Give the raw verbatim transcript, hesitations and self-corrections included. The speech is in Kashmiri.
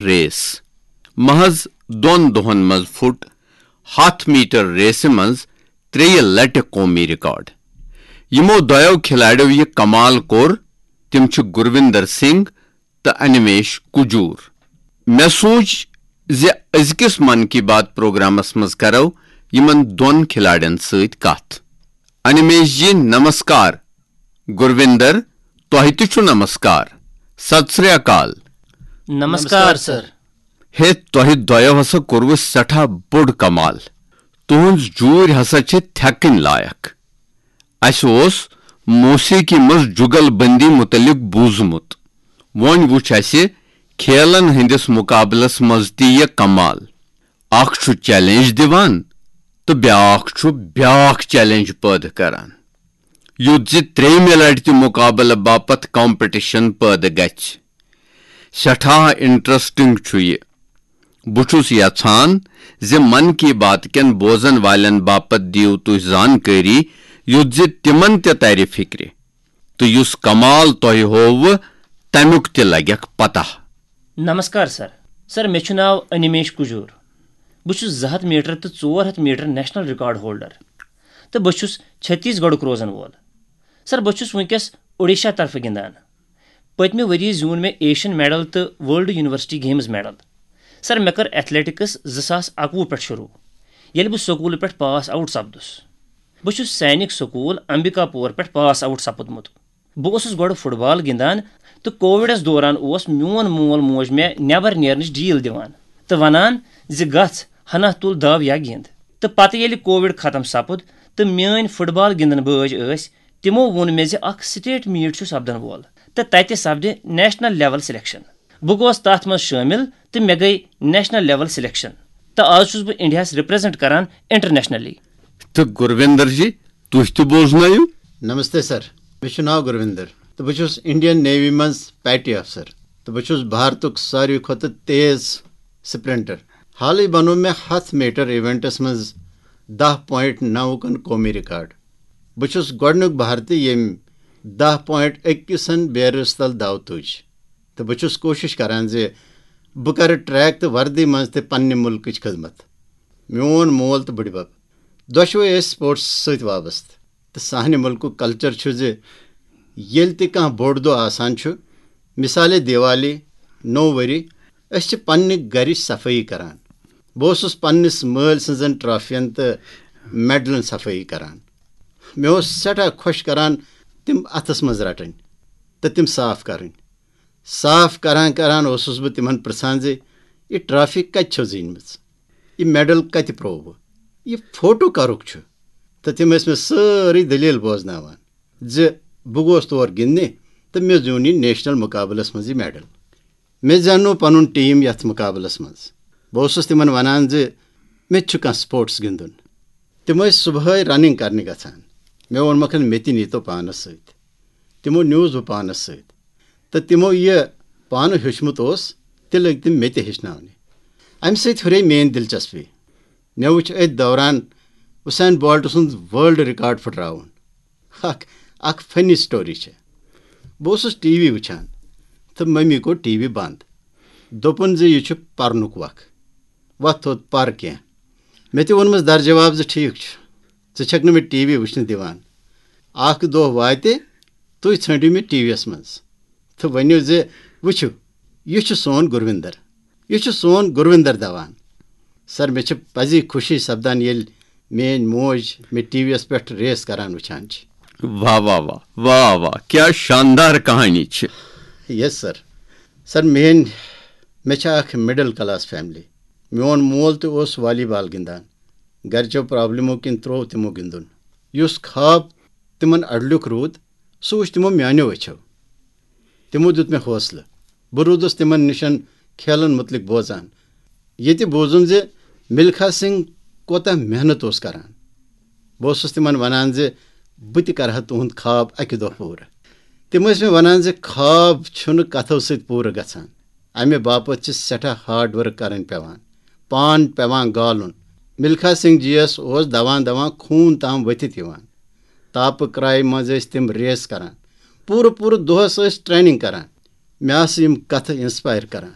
ریس۔ محض دۄن دۄہن منٛز پھُٹ ہتھ میٹر ریسہِ منٛز ترٛیٚیہِ لٹہِ قومی ریکارڈ۔ یِمو دۄیو کھلاڑیو یہِ کمال کوٚر، تِم چھِ گرویندر سنگھ تہٕ انمیش کجور۔ مےٚ سوٗنچ زِ أزکِس من کی بات پروگرامس منٛز کرو یِمن دۄن کھلاڑٮ۪ن سۭتۍ کتھ۔ انمیش جی نمسکار۔ گرویندر، تۄہہِ تہِ چھُ نمسکار۔ ست سری اکال۔ نمسکار سر۔ ہے، تۄہہِ دۄیو ہسا کوٚروٕ سٮ۪ٹھاہ بوٚڑ کمال۔ تُہنٛز جوٗرۍ ہسا چھِ تھٮ۪کٕنۍ لایق۔ اسہِ اوس موسیقی منٛز جُگل بندی متعلق بوٗزمُت۔ وۄنۍ وُچھ اسہِ کھیلن ہٕنٛدِس مقابلس منٛز تہِ یہِ کمال۔ اکھ چھُ چیلنج دِوان تہٕ بیٛاکھ چھُ بیٛاکھ چیلنج پٲدٕ کران، یُتھ زِ ترٛیٚیمہِ لٹہِ تہِ مقابلہٕ باپتھ کمپٹیشن پٲدٕ گژھِ۔ سٮ۪ٹھاہ انٹرسٹنگ چھُ یہِ۔ بہٕ چھُس یژھان زِ من کی بات کٮ۪ن بوزن والٮ۪ن باپتھ دِیِو تُہۍ زانکٲری، یُتھ زِ تِمن تہِ ترِ فکرِ تہٕ یُس کمال تۄہہِ ہووٕ، تمیُک تہِ لگٮ۪کھ پتہ۔ نمسکار سر۔ سر، مےٚ چھُ ناو انمیش کجور۔ بہٕ چھُس زٕ ہتھ میٹر تہٕ ژور ہتھ میٹر نیشنل ریکارڈ ہولڈر تہٕ بہٕ چھُس چھتیس گڑھُک روزن وول۔ سر، بہٕ چھُس وٕنکیٚس اوڈیشہ طرفہٕ گِنٛدان۔ پٔتمہِ ؤریہِ زیوٗن مےٚ ایشین میڈل تہٕ ورلڈ یونیورسٹی گیمز میڈل۔ سر، مےٚ کٔر ایتھلیٹکس زٕ ساس اکوُہ پٮ۪ٹھ شروٗع، ییٚلہِ بہٕ سکوٗلہٕ پٮ۪ٹھ پاس آوٹ سپدُس۔ بہٕ چھُس سینک سکوٗل امبکا پور پٮ۪ٹھ پاس آوٹ سپُدمُت۔ بہٕ اوسُس گۄڈٕ فٹ بال گِنٛدان تہٕ کووِڈس دوران اوس میون مول موج مےٚ نٮ۪بر نیرنٕچ ڈیٖل دِوان تہٕ ونان زِ گژھ، ہنا تُل دو یا گِنٛد۔ تہٕ پتہٕ ییٚلہِ کووِڈ ختم سپُد تہٕ میٲنۍ فٹ بال گِنٛدن بٲج ٲسۍ، تِمو ووٚن مےٚ زِ اکھ سٹیٹ میٖٹ چھُ سپدن وول تہٕ تتہِ سپدِ نیشنل لیول سلیکشن۔ بہٕ گوس تتھ منٛز شٲمِل تہٕ مےٚ گٔے نیشنل لیول سلیکشن تہٕ آز چھُس بہٕ انڈیاہس ریپرزنٹ کران انٹرنیشنلی۔ تہٕ گرویندر جی، تُہۍ تہِ بوزنٲیِو۔ نمستے سر، مےٚ چھُ ناو گرویندر تہٕ بہٕ چھُس انڈین نیوی منٛز پیٹی افسر تہٕ بہٕ چھُس بھارتُک ساروی کھۄتہٕ تیز سپرنٹر۔ حالٕے بنوو مےٚ ہتھ میٹر ایونٹس منٛز دہ پوینٹ نوُکن قومی ریکارڈ۔ بہٕ چھُس گۄڈٕنیُک بھارتی ییٚمۍ دہ پوینٹ أکِسن بیرس تل دو تُج تہٕ بہٕ چھُس کوٗشِش کران زِ بہٕ کرٕ ٹریک تہٕ وردی منٛز تہِ پننہِ مُلکٕچ خدمت۔ میون مول تہٕ بٕڈبب دۄشوے ٲسۍ سپورٹس سۭتۍ وابستہٕ تہٕ سانہِ مُلکُک کلچر چھُ زِ ییٚلہِ تہِ کانٛہہ بوٚڑ دۄہ آسان چھُ، مثالے دیوالی، نوٚو ؤری، أسۍ چھِ پننہِ گرِچ صفٲیی کران۔ بہٕ اوسُس پننِس مٲلۍ سٕنٛزن ٹرافین تہٕ میڈلن صفٲیی کران۔ مےٚ اوس سٮ۪ٹھاہ خۄش کران تِم اتھس منٛز رٹٕنۍ تہٕ تِم صاف کرٕنۍ۔ صاف کران کران اوسُس بہٕ تِمن پرژھان زِ یہِ ٹرافی کتہِ چھو زیٖنمٕژ؟ یہِ میڈل کتہِ پروو؟ یہِ فوٹو کرُک چھُ؟ تہٕ تِم ٲسۍ مےٚ سٲرٕے دٔلیٖل بوزناوان زِ بہٕ گوس تور گِنٛدنہِ تہٕ مےٚ زیوٗن یہِ نیشنل مقابلس منٛز یہِ میڈل۔ مےٚ زینوو پنُن ٹیٖم یتھ مقابلس منٛز۔ بہٕ اوسُس تِمن ونان زِ مےٚ تہِ چھُ کانٛہہ سپورٹس گِنٛدُن۔ تِم ٲسۍ صبحٲے رننگ کرنہِ گژھان۔ مےٚ ووٚنمکھ، مےٚ تہِ نیٖتو پانس سۭتۍ۔ تِمو نیوٗس بہٕ پانس سۭتۍ تہٕ تِمو یہِ پانہٕ ہیوٚچھمُت اوس، تہِ لٔگۍ تِم مےٚ تہِ ہیٚچھناونہِ۔ امہِ سۭتۍ ہُرے میٲنۍ دلچسپی۔ مےٚ وُچھ أتھۍ دوران حسین بولٹ سُنٛد ورلڈ ریکارڈ پھٕٹراوُن۔ اکھ اکھ فنی سٹوری چھےٚ۔ بہٕ اوسُس ٹی وی وٕچھان تہٕ مٔمی کوٚر ٹی وی بنٛد۔ دوٚپُن زِ یہِ چھُ پرنُک وق، وۄتھ تھوٚد پر کینٛہہ۔ مےٚ تہِ ووٚنمَس در جواب زِ ٹھیٖک چھُ، ژٕ چھَکھ نہٕ مےٚ ٹی وی وٕچھنہٕ دِوان۔ اکھ دۄہ واتہِ، تُہۍ ژھٲنٛڈِو مےٚ ٹی وی یَس منٛز تہٕ ؤنِو زِ وٕچھِو، یہِ چھُ سون گُروِندر، یہِ چھُ سون گُروِندر دوان۔ سر، مےٚ چھِ پزی خوشی سپدان ییٚلہِ میٲنۍ موج مےٚ ٹی وی یَس پٮ۪ٹھ ریس کران وٕچھان چھِ۔ واہ واہ واہ واہ واہ، کیا شاندار کہانی چھِ۔ یس سر۔ سر، میٲنۍ مےٚ چھِ اکھ مڈل کلاس فیملی۔ میون مول تہِ اوس والی بال گِنٛدان۔ گرِچو پرابلمو کِنۍ تروو تِمو گِنٛدُن۔ یُس خواب تِمن اڈلیُک روٗد، سُہ وُچھ تِمو میانیو أچھو۔ تِمو دیُت مےٚ حوصلہٕ۔ بہٕ روٗدُس تِمن نِشن کھیلن مُتعلق بوزان۔ ییٚتہِ بوٗزُم زِ ملکھا سنگھ کوتاہ محنت اوس کران۔ بہٕ اوسُس تِمن ونان زِ بہٕ تہِ کرٕ ہا تُہُنٛد خواب اکہِ دۄہ پوٗرٕ۔ تِم ٲسۍ مےٚ ونان زِ خواب چھُنہٕ کتھو سۭتۍ پوٗرٕ گژھان، امہِ باپتھ چھِ سٮ۪ٹھاہ ہارڈ ورک کرٕنۍ پٮ۪وان، پان پٮ۪وان گالُن۔ ملکھا سنگھ جی یس اوس دوان دوان خوٗن تام ؤتھِتھ یِوان۔ تاپہٕ کرایہِ منٛز ٲسۍ تِم ریس کران، پوٗرٕ پوٗرٕ دۄہس ٲسۍ ٹریننگ کران۔ مےٚ آسہٕ یِم کتھٕ انسپائر کران۔